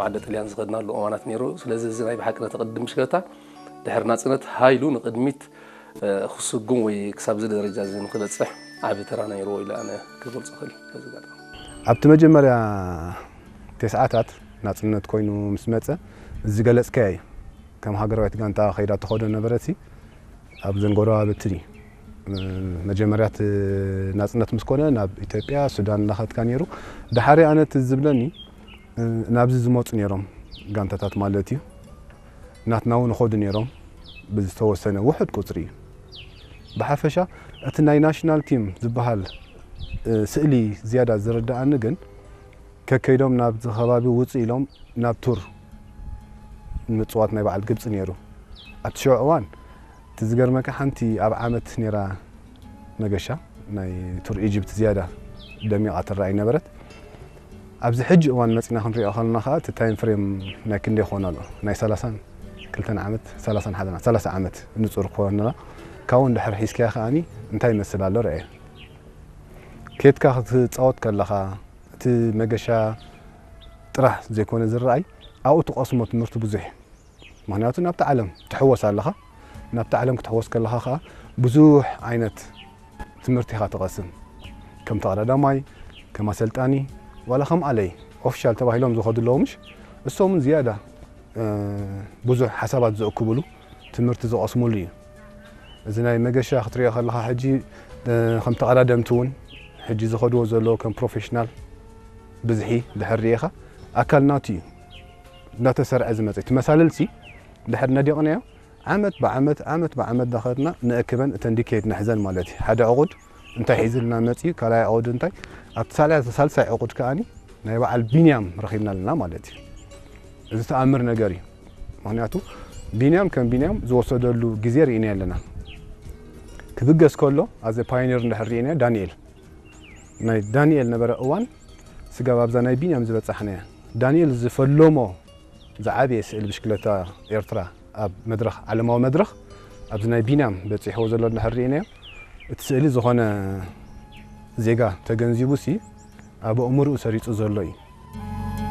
ዓዲ ጥልያን ዝኸድናሉ እዋናት ነይሩ። ስለዚ እዚ ናይ ብሓቂ ነቲ ቅድም ብሽክለታ ድሕሪ ናጽነት ሃይሉ ንቕድሚት ክስጉም ወይ ክሳብ እዚ ደረጃ እዚ ንክበጽሕ ዓቢ ተራ ነይርዎ ኢለ ኣነ ክገልጾ ክእል። በዚ ኣጋጣሚ ኣብቲ መጀመርያ ተስዓታት ናጽነት ኮይኑ ምስ መጸ ዝገለጽካዮ እዩ። ከም ሃገራዊት ጋንታ ከይዳ ትኸዶ ነበረሲ ኣብ ዘንጎረባብቲ መጀመርያት ናጽነት ምስ ኮነ ናብ ኢትዮጵያ ሱዳን እናኸድካ ነይሩ። ድሓሪ ኣነ እቲ ዝብለኒ ናብዚ ዝመፁ ነይሮም ጋንታታት ማለት እዩ። ናትና እውን ይኸዱ ነይሮም ብዝተወሰነ ውሑድ ቁፅሪ እዩ። ብሓፈሻ እቲ ናይ ናሽናል ቲም ዝበሃል ስእሊ ዝያዳ ዝርድኣኒ ግን ከከይዶም ናብዚ ከባቢ ውፅእ ኢሎም ናብ ቱር ንምፅዋት ናይ በዓል ግብፂ ነይሩ። ኣብቲ ሽዑ እዋን እቲ ዝገርመካ ሓንቲ ኣብ ዓመት ነይራ መገሻ ናይ ቱር ኢጅፕት ዝያዳ ደሚቓ ትረኣይ ነበረት። ኣብዚ ሕጂ እዋን መፂና ክንሪኦ ከለና ከዓ እቲ ታይም ፍሬም ናይ ክንደይ ክኾን ኣሎ ናይ ሰላሳን ክልተን ዓመት ሰላሳን ሓደን ሰላሳ ዓመት ንፁር ክኾን ኣለና። ካብኡ እንድሕር ሒዝካያ ከዓኒ እንታይ ይመስል ኣሎ ረኣየ። ኬድካ ክትፃወት ከለኻ እቲ መገሻ ጥራሕ ዘይኮነ ዝረኣይ ኣብኡ ትቐስሞ ትምህርቲ ብዙሕ እዩ። ምክንያቱ ናብቲ ዓለም ትሕወስ ኣለኻ። ናብቲ ዓለም ክትሕወስ ከለኻ ከዓ ብዙሕ ዓይነት ትምህርቲ ኢኻ ትቐስም። ከም ተቐዳዳማይ፣ ከም ኣሰልጣኒ ዋላ ከም ኣለይ ኦፊሻል ተባሂሎም ዝኸዱ ኣለዉ ምሽ እሶምን ዝያዳ ብዙሕ ሓሳባት ዘእክብሉ ትምህርቲ ዝቐስሙሉ እዩ። እዚ ናይ መገሻ ክትሪኦ ከለኻ ሕጂ ከም ተቐዳደምቲ እውን ሕጂ ዝኸድዎ ዘለዉ ከም ፕሮፌሽናል ብዝሒ ድሕር ርኢኻ ኣካል ናቱ እዩ እናተሰርዐ ዝመፀ እቲ መሳልልሲ ድሕር ነዲቕናዮ ዓመት ብዓመት ዓመት ብዓመት ዳኸድና ንእክበን እተን ዲኬድ ንሕዘን ማለት እዩ። ሓደ ዕቑድ እንታይ ሒዝልና መፅዩ ካልኣይ ዕቑድ እንታይ ኣብቲ ሳልሳይ ዕቑድ ከዓኒ ናይ በዓል ቢንያም ረኺብና ኣለና ማለት እዩ። እዚ ተኣምር ነገር እዩ። ምክንያቱ ቢንያም ከም ቢንያም ዝወሰደሉ ግዜ ርኢና ኣለና። ክብገስ ከሎ ኣዘ ፓዮኒር እንድሕር ርኢና ዳንኤል ናይ ዳንኤል ነበረ እዋን ስጋብ ኣብዛ ናይ ቢንያም ዝበጻሕናያ ዳንኤል ዝፈለሞ ዝዓበየ ስእሊ ብሽክለታ ኤርትራ ኣብ መድረኽ ዓለማዊ መድረኽ ኣብዚ ናይ ቢንያም በጺሕዎ ዘሎ እንድሕር ርኢናዮ እቲ ስእሊ ዝኾነ ዜጋ ተገንዚቡ ሲ ኣብ ኣእምርኡ ሰሪጹ ዘሎ እዩ።